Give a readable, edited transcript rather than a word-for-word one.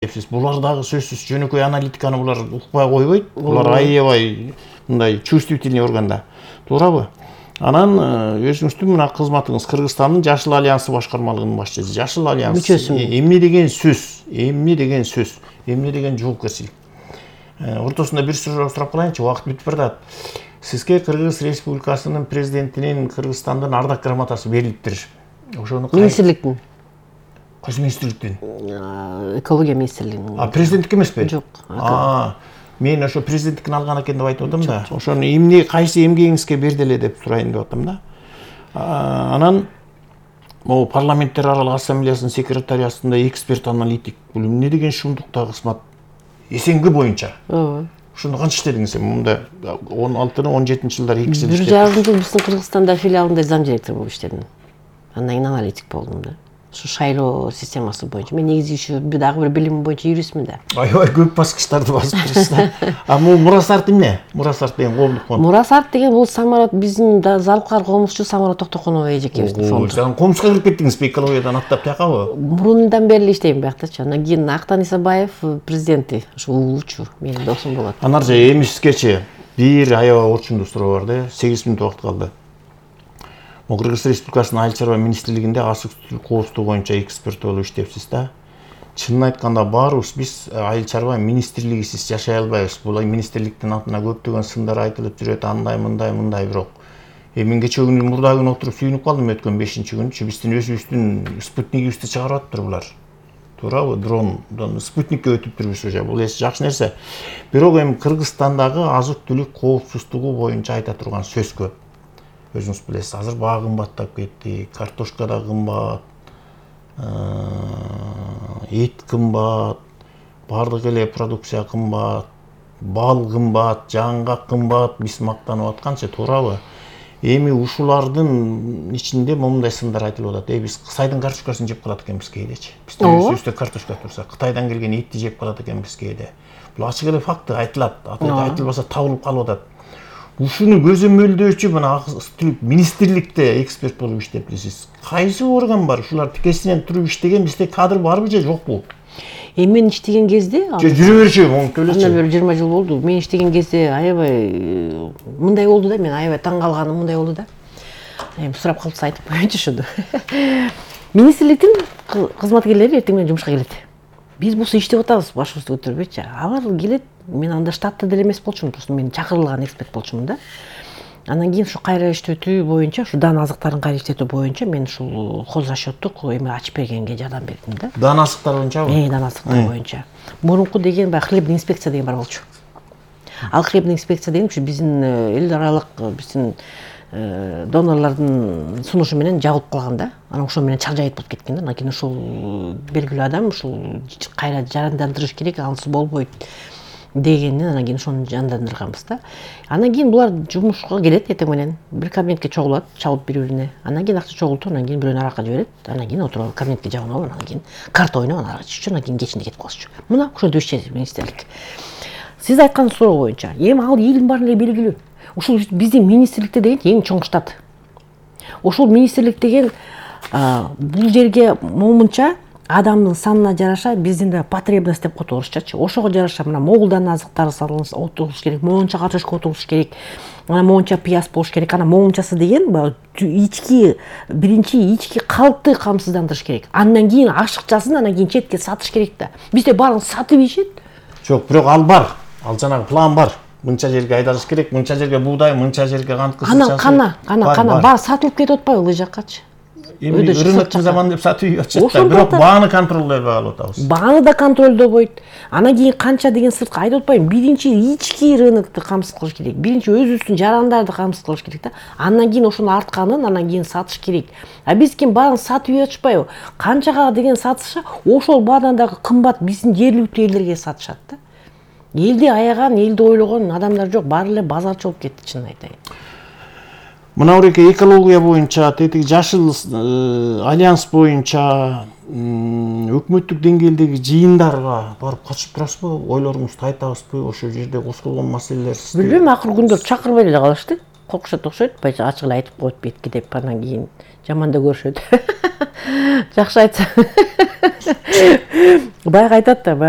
Булар дагы сөзсүз жөнөкөй аналитиканы булар укпай койбойт. Булар аябай мындай чувствительный органда. Туурабы? Анан өзүңүздүн мына кызматыңыз Кыргызстандын Жашыл альянсы башкармалыгынын башчысы. Жашыл альянс эмне деген сөз? Эмне деген сөз? Эмне деген жоопкерчилик? Ортосунда бир сурап калайынчы, убакыт бүтүп барат. Сизге Кыргыз Республикасынын президентинин Кыргызстандын ардак грамотасы берилиптир. Ошону министрликтин. Кайсы министрликтен? Экология министрлигинин. Президенттик эмеспи? Жок. Мен ошо президенттикин алган экен деп айтып атам да. Ошону эмне кайсы эмгегиңизге берди эле деп сурайын деп атам да. Анан могу парламенттер аралык ассамблеясынын секретариатында эксперт аналитик бул эмне деген шумдукта кызмат? СНГ боюнча. Ошондо канча иштедиңиз? Мында 16-17-жылдары 2 жыл иштедим. 1,5 жыл биздин Кыргызстанда филиалында зам директор болуп иштедим. Андан кийин аналитик болдум да. Şu шайлоо системасы боюнча. Мен негизи еще дагы бир билимим боюнча юристмин да. Аябай көп баскычтарды басып турасыз да. Бул Мурасарт эмне? Мурасарт деген коомдук фонд. Мурасарт деген бул самарат биздин залкар комузчу Самарат Токтоконова эжекебиздин фонду. Сен комузга кирип кеттиңизби экологиядан аттап тиякабы? Мурундан бери иштейм биякчы. Анан кийин Актан Исабаев президенти, ушу улуучу, менин досум болот. Анарча эмисизгечи бир аябай орчундуу суроо бар да. 8 мүнөт убакыт калды. Кыргыз Республикасынын Айыл чарба министрлигинде азык-түлүк коопсуздугу боюнча эксперт болуп иштепсиз да. Чынын айтканда баарыбыз биз Айыл чарба министрлигисиз жашай албайбыз. Бул министрликтин атына көптөгөн сындар айтылып жүрөт, андай мындай бирок. Мен кече күнү мурда күнү отуруп сүйүнүп калдым өткөн 5-күнчү. Биздин өзүбүздүн спутнигибизди чыгарып атыптыр булар. Туурабы? Дрондон спутникке өтүптүрбүз уже. Бул эс жакшы нерсе. Бирок эми Кыргызстандагы азык-түлүк коопсуздугу боюнча айта турган сөз көп. Өзүңүз билесиз, азыр баа кымбаттап кетти, картошка да кымбат, эт кымбат, баардык эле продукция кымбат, бал кымбат, жаңгак кымбат, биз мактанып атканчы, туурабы? Эми ушулардын ичинде момундай сындар айтылып атат. Биз Кытайдын картошкасын жеп калат экенбиз кээдечи. Биздин өзүбүздө картошка турса, Кытайдан келген этти жеп калат экенбиз кээде. Бул ачык эле факты айтылат. Айтылбаса табылып калып атат. Ушуну көзөмөлдөөчү мына азык-түлүк министрликте эксперт болуп иштептсиз. Кайсы орган бар? Ушулар тикесинен туруп иштеген бизде кадр барбы же жокпу? Мен иштеген кезде жүрө берчү, моңуп элечи. Андан бери 20 жыл болду. Мен иштеген кезде аябай мындай болду да, мен аябай таң калганым мындай болду да. Эми сурап калса айтып коеюнчу ошондо. Министрликтин кызматкерлери эртең менен жумушка келет. Биз бул иштеп атабыз, башыбызды көтөрбөйчү. Алар келет, мен анда штатта деле эмес болчумун, просто мен чакырылган эксперт болчумун да. Анан кийин ушу кайра иштетүү боюнча, ушу дан азыктарын кайра иштетүү боюнча мен ушул хозрасчёттук эме ачып бергенге жардам бердим да. Дан азыктар боюнчабы? Дан азыктар боюнча. Мурунку деген баягы хлебный инспекция деген бар болчу. Ал хлебный инспекция деген ушу биздин эл аралык биздин донорлордун сунушу менен жабылып калган да. Анан ошо менен чак жайыт болуп кеткен да. Анан кийин ушул белгилүү адам ушул кайра жандандырыш керек, ансыз болбойт дегенден анан кийин ошону жандандырганбыз да. Анан кийин булар жумушка келет эртең менен, бир кабинетке чогулат, чабылып бири-бирине. Анан кийин акча чогултуп, анан кийин бирөөнү аракка жиберет. Анан кийин отуруп кабинетке жабынып, анан кийин карта ойноп, анан аракка иччү, анан кийин кечинде кетип калышчу. Мына ошондой иштейт министрлик. Сиз айткан суроо боюнча, эми ал элдин баарына эле белгилүү. Ушул биздин министрликте деген эң чоң штат. Ушул министрлик деген бул жерге момунча адамдын санына жараша биздин да потребность деп коет орусчачы. Ошого жараша мына могулдан азыктар салынса отуруш керек, могунча картошка отуруш керек, анан могунча пияз болуш керек. Анан могунчасы деген ички биринчи ички калкты камсыздандырыш керек. Андан кийин ашыкчасын анан кийин четке сатыш керек да. Бизде баарын сатып ишет. Жок, бирок ал бар. Ал жанагы план бар. Мынча жерге айдалыш керек, мынча жерге буудай, мынча жерге кант кызылчасы. Кана бар сатылып кетип атпайбы ылы жаккачы? Эми рыноктун заманы деп сатып ийип атышат. Бирок бааны контролдой алып атабыз. Бааны да контролдобойт. Анан кийин канча деген сыртка айтып атпайбы? Биринчи ички рынокту камсыз кылыш керек. Биринчи өзүбүздүн жарандарды камсыз кылыш керек да. Андан кийин ошонун артканын анан кийин сатыш керек. Биз ким баарын сатып ийип атышпайбы? Канчага деген сатышы ошол баадан дагы кымбат биздин жергиликтүү элдерге сатышат да. Элди аяган, элди ойлогон адамдар жок, баары эле базарчы болуп кетти, чынын айтайын. Мына буреке экология боюнча, тетиги Жашыл альянс боюнча өкмөттүк деңгээлдеги жыйындарга барып катышып турасызбы? Ойлоруңузду айтабызбы? Ошол жерде козголгон маселелер билбейм, акыркы күндөрү чакырбай эле калышты. Коркушат окшойт, ачык эле айтып коет бетке деп, анан кийин жаман да көрүшөт. Жакшы айтса. Баягы айтат да, баягы